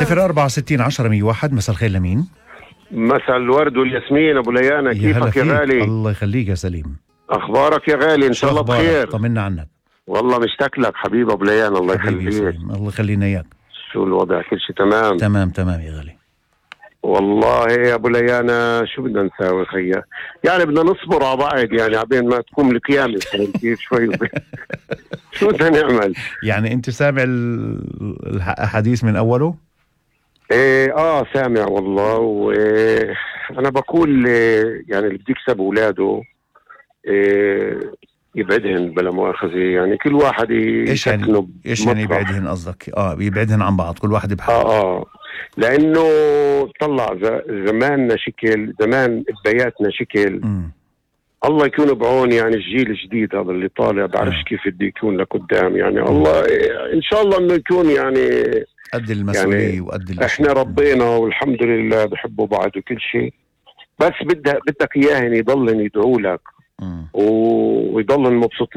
064 مساء الخير لمين؟ مساء الورد والياسمين ابو ليانا، كيفك يا غالي؟ الله يخليك يا سليم. اخبارك يا غالي؟ ان شاء الله بخير. طمنا عنك. والله مشتاق لك حبيب ابو ليانا، الله يخليك. الله يخلينا اياك. شو الوضع؟ كل شيء تمام؟ تمام يا غالي. والله يا ابو ليانا شو بدنا نساوي خيا؟ يعني بدنا نصبر على بعض، يعني عبين ما تقوم القيامة كيف شوي شو بدنا نعمل؟ يعني انت سامع الحديث من اوله؟ ايه سامع والله. وانا بقول يعني اللي بده يكسب اولاده يبعدهن بلا مؤاخذة، يعني كل واحد ايش يعني يبعدهن قصدك؟ يبعدهن عن بعض، كل واحد بحاله. لانه طلع زماننا شكل، زمان بياتنا شكل. الله يكون بعون يعني الجيل الجديد هذا اللي طالع، بعرفش كيف بده يكون لقدام، يعني الله ان شاء الله انه يكون يعني قد المسؤولية يعني وقد الاشياء. احنا ربينا والحمد لله بحبوا بعض وكل شيء، بس بدك اياهن يضلن يدعوا لك ويضلن مبسوطين.